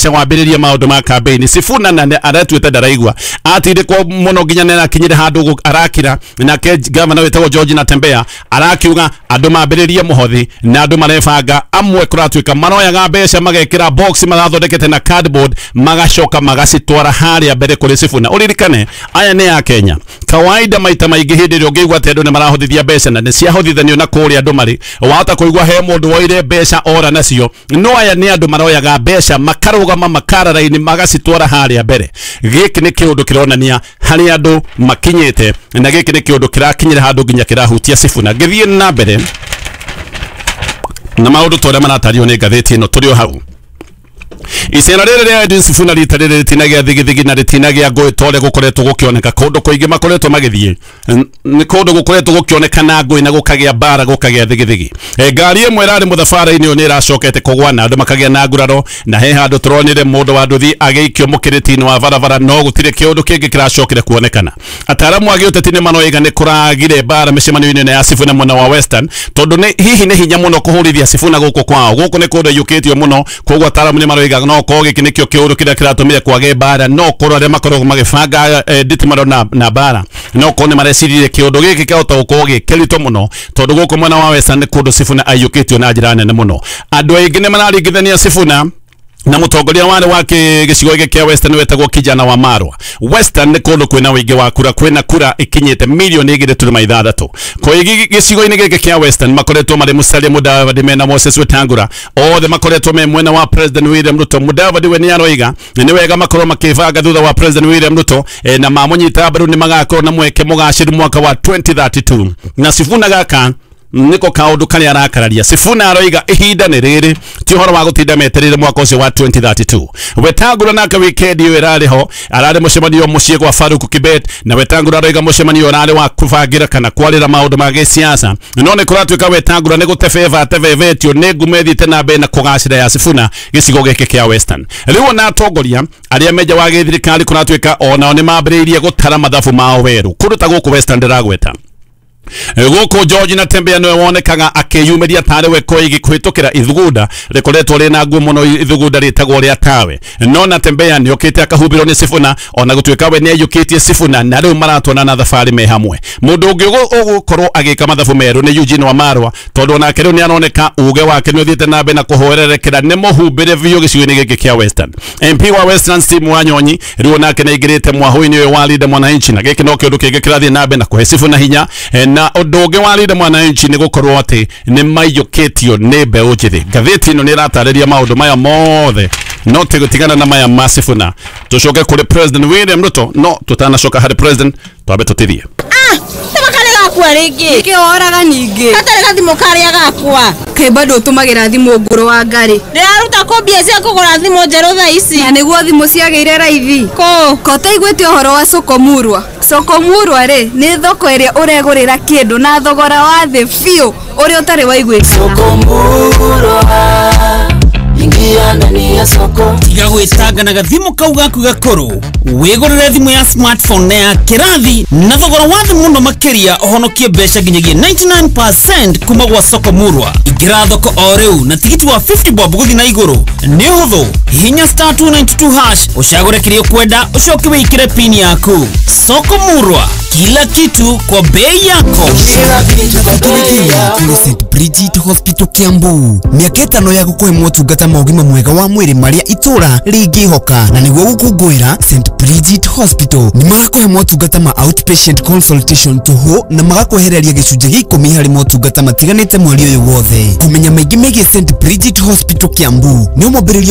Mbeca wambĩrĩrie maũndũ ma campaign. Sifuna na aretuĩte ndaraigua atindĩkwo mũno nginya nĩ arakinyire handũ arakira. Nake gavana wĩtagwo George Natembeya arakiuga andũ mambĩrĩrie mũhothi na andũ marebanga. Amwe kũratuĩka maroyaga mbeca magekĩra box marathondekete na cardboard, magacoka magacitwara harĩa mbere kũrĩ Sifuna. Ũririkane aya nĩ ya Kenya kawaida, maita maingĩ hĩndĩ ĩrĩa ũngĩigua atĩ andũ nĩ marahũthithia mbeca na nĩ ciahũthithanio na kũrĩa andũ marĩ, wahota kũigua he mũndũ woire mbeca ora nacio. No aya nĩ andũ maroyaga mbeca makarũgama makara raini magacitwara harĩa mbere. Gĩkĩ nĩ kĩũndũ kĩronania harĩa andũ makinyĩte, na gĩkĩ nĩ kĩũndũ kĩrakinyĩra handũ nginya kĩrahutia Sifuna. Ngĩthiĩ na mbere na maũndũ ta ũrĩa maratario nĩ ngathĩti ĩno, tũrĩ o hau. Icera rĩrĩ rĩa Edwin Sifuna rita rĩrĩ rĩtinagĩa thigithigi na rĩtinagĩa ngũĩ ta ũrĩa gũkoretwo gũkĩoneka kũndũ kũingĩ makoretwo magĩthiĩ. Nĩ kũndũ gũkoretwo gũkĩoneka na ngũĩ na gũkagĩa mbara, gũkagĩa thigithigi. Ngari ĩmwe ĩrarĩ mũthabara-inĩ ũyũ nĩ ĩracokete kũgwa na andũ makagĩa na nguraro, na he handũ tũronire mũndũ wa nduthi agĩikio mũkĩrĩti-inĩ wa barabara, no gũtirĩ kĩũndũ kĩngĩ kĩracokire kuonekana. Ataaramu a gĩũteti nĩ maroiga nĩ kũragire mbara mĩcemanio-inĩ ya Sifuna mwena wa Western, tondũ nĩ hihi nĩ hinya mũno kũhũrithia Sifuna gũkũ kwao. Gũkũ nĩ kũndũ aiyũkĩtio mũno, koguo ataaramu nĩ maroiga no korwo gĩkĩ nĩkĩo kĩũndũ kĩrĩa kĩratũmire kwage mbara, no korwo arĩa makoragwo magĩbanga nditimano na mbara, no korwo nĩ mareciririe kĩũndũ gĩkĩ kĩahota gũkorwo gĩ kĩritũ mũno, tondũ gũkũ mwena wa Western nĩ kũndũ Sifuna aiyũkĩtio na njĩra nene mũno. Andũ aingĩ nĩ mararingithania Sifuna na mũtongoria warĩ wa gĩcigo gĩkĩ kĩa Western wetagwo Kijana wa Marwa. Western nĩ kũndũ kwĩna ũingĩ wa kura, kwĩna kura ikinyĩte milioni 2.6. Koigi gĩcigo-inĩ gĩkĩ kĩa Western makoretwo marĩ Musalia Mudavadi mena Moses Wetangula, othe makoretwo me mwena wa President William Ruto. Mudavadi we nĩ aroiga nĩ wega makorwo makĩbanga thutha wa President William Ruto, na mamũnyita mbaru nĩ magakorwo na mweke mũgacĩru mwaka wa 2032. Na Sifuna gaka niko kaũndũ karĩa arakararia. Sifuna aroiga ihinda nĩ rĩrĩ, ti ũhoro wa gũtinda metereire mwaka ũcio wa 2032. Wetangula nake wikendi ĩyo ĩrarĩ ho, ararĩ mũcemanio mũciĩ gwa Farouk Kibet, na Wetangula aroiga mũcemanio ũrarĩ wa kũbangĩra kana kwarĩra maũndũ ma gĩsiasa. No nĩ kũratuĩka Wetangula nĩ gũtebeba atebebetio nĩ ngumo ĩthiĩte na mbere na kũgacĩra ya Sifuna gĩcigo gĩkĩ kĩa Western. Rĩu ona atongoria arĩa menja wa gĩthirikari kũratuĩka onao nĩ mambĩrĩirie gũtara mathabu mao werũ kũndũ ta gũkũ Western ndĩragweta. Gũkũ George Natembeya nĩwe wonekaga akĩyumĩria tarĩ we Koigi kũhĩtũkĩra ithugunda rĩkoretwo rĩna nguo mũno, ithugunda rĩtagwo rĩa tawe. No Natembeya nĩokĩte akahumbĩrwo nĩ Sifuna, ona gũtuĩka we nĩaiyũkĩtie Sifuna, na rĩu maratwana na thabarĩ me hamwe. Mũndũ ũngĩ ũgũkorwo agĩka mathabu merũ nĩ Eugene Wamalwa, tondũ onake rĩu nĩaroneka uge wake nĩ ũthiĩte na mbere na kũhwererekera, nĩ mũhumbĩre biũ gĩcigo-inĩ gĩkĩ kĩa Western. MP wa Western Steve Wanyonyi rĩu onake nĩaingĩrĩte mwahũ-inĩ ũyũ wa Linda Mwananchi, na gĩkĩ no kĩũndũ kĩngĩ kĩrathiĩ na mbere na kũhe Sifuna hinya. Na ũndũ ũngĩ wa Linda Mwananchi nĩ gũkorwo atĩ nĩ maiyũkĩtio nĩ mbeũ njĩthĩ. Ngathĩti ĩno nĩ ĩratarĩria maũndũ maya mothe, no tũgũtigana na maya ma Sifuna tũcoke kũrĩ President William Ruto. No tũtanacoka harĩ President, twambe tũtithie. Gakwa rĩngĩ. Nĩkĩ woraga ningĩ? Gatarĩ gathimũ karĩa gakwa. Kaĩ bado ũtũmagĩra thimũ ngũrũ wa ngarĩ? Ndĩraruta kũ mbia cia kũgũra thimũ njerũ thaa ici? Na nĩguo thimũ ciagĩire raithi. Kũ? Ko ũtaiguĩte ũhoro wa Soko Murwa? Soko Murwa rĩ, nĩ thoko ĩrĩa ũregũrĩra kĩndũ na thogora wa thĩ biũ ũrĩa ũtarĩ waiguĩkana. Soko Murwa, ingia ndani ya soko. Tiga gwĩtanga na gathimũ kau gaku gakũrũ, wĩgũrĩre thimũ ya smartphone na ya kĩrathi na thogora wa thĩ mũno makĩria, ũhonokie mbeca nginyagia 99% kuma gwa Soko Murwa. Ingĩra thoko o rĩu na tigiti wa 50 bob gũthiĩ na igũrũ. Nĩ ũhũthũ, hihinya *292# ũcagũre kĩrĩa ũkwenda, ũcoke wĩkĩre pin yaku. Soko Murwa, kila kitu kwa bei yako. Kila kitu kwa bei yako. Kũrĩ St Bridget Hospital Kiambu, mĩaka 5 ya gũkũhe motungata ma ũgima mwega wa mwĩrĩ marĩa itũra rĩngĩhoka, na nĩguo gũkũngũĩra St Bridget Hospital nĩ marakũhe motungata ma outpatient consultation tũhũ na magakwehereria gĩcunjĩ gĩa 10 harĩ motungata matiganĩte mweri ũyũ wothe. Kũmenya maingĩ megiĩ St Bridget Hospital Kiambu nĩ ũmwambĩrĩrio